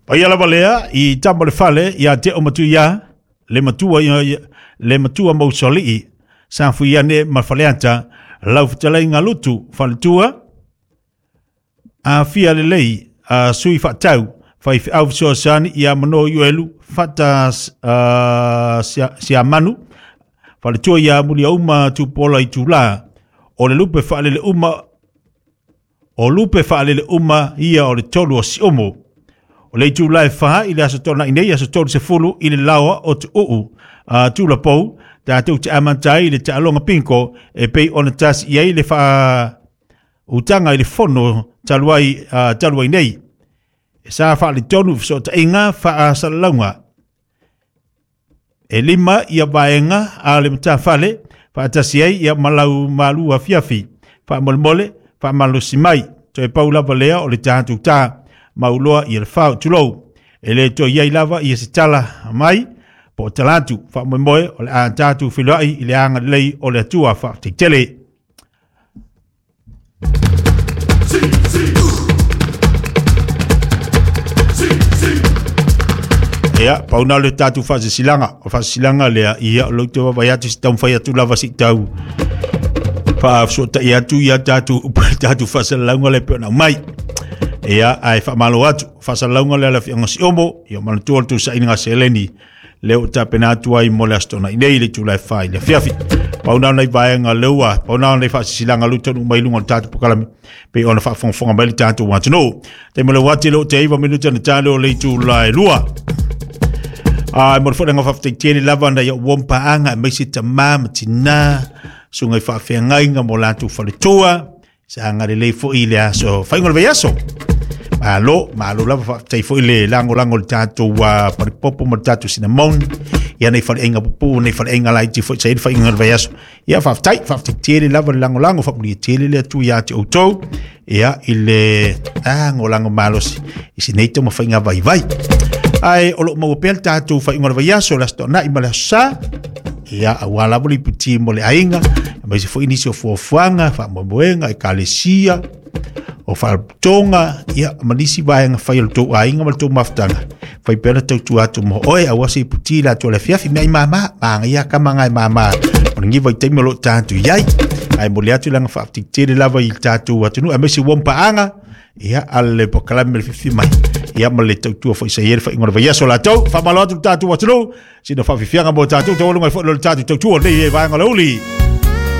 Paia lava lea i tama o le fale ia te o matuia le matua ia le matua mausolii sa fuiane ma Faleata lau fetalaiga Lutu faletua afia lelei a sui faatau faifeau fesoasoani ia mano Ioelu fata siamanu faletua ia Muliauma Tupuola i Tula o le lupe faalele uma o lupe faalele uma ia o le tolu o Siumu. O le itula e 4 i le aso Toonai nei, aso 30 i le laoa o Tuuu Tulapou, tatou te amata ai le taaloga pinko e pei ona tasi i ai le faautaga i le fono talu ai nei. E sa faaletonu fesootaiga faasalalauga. E 5 ia vaega a le matafale faatasi ai ia malau malua fiafi faamolemole faamalosi mai. Toe pau lava lea o le tatou tā mauloa ia le fao tulou. E le toe iai lava ia se tala mai po o talatu faamoemoe o le a tatou feiloai i le agalelei o le Atua faafetai. Ia, pauna le tatou faasisilaga. O faasisilaga lea, ia o lou te vaavaai atu si taumafai atu lava si tau faafesootai atu ia tatou faasalalauga lea e pei ona aumai. Ia, ae faamalo atu. Faasalalauga lea le afioga Siomo, ia manatua le tuusailiga seleni lea ua tapena atu ai mo le aso Toonai nei i le itula e 4 i le afiafi. Pauna nei vaega leua, pauna nei faasisilaga lu tonu mai luga o le tatou polokalame pei ona faafogafoga mai le tatou atunuu. Taimi o le uati le o te 9 minuta na tale o le itula e 2. Ai, mo le foi lenga faafetai tele lava na ia ua mpaanga e maise tamā ma tinā, suga i faafeagaiga mo latou faletua, sa agalelei foi i le aso faaiuga o le vaiaso. Malo, malo lava faafetai foi le lagolago i le tatou palipopo ma le tatou cinnamon, ia nei faleaiga pupuu, nei faleaiga laiti foi sa i le faaiuga o le vaiaso. Ia faafetai, faafetai tele lava le lagolago, faamanuia tele le Atua ia te outou, ia i le lagolago malosi i si nei taumafaiga vaivai. Ae o loo maua pea le tatou faaiuga o le vaiaso, le aso Toonai ma le aso Sa, ia aua lava le iputi mo le aiga, aemaise foi nisi o fuafuaga, faamoemoega, ekalesia, o faalapotopotoga, ia ma nisi vaega fai o le tou aiga ma le tou mafutaga. Fai pea na tautua atu mo oe, aua se iputi la atu o le afiafi, mea i mama, maga ia kama ngai mama, o le ngiva i taimi o loo tatou iai. Ae momoli atu le agaga faafetai tele lava i le tatou atunuu, aemaise ua mpaaga, ia a le polokalame le fifi mai, ia ma le tautua foi sa i ai le faaiuga o le vaiaso latou. Faamalo atu le tatou atunuu, sina faafiafiaga mo tatou, taualuga ai foi le tatou tautua nei e vaega o le uli.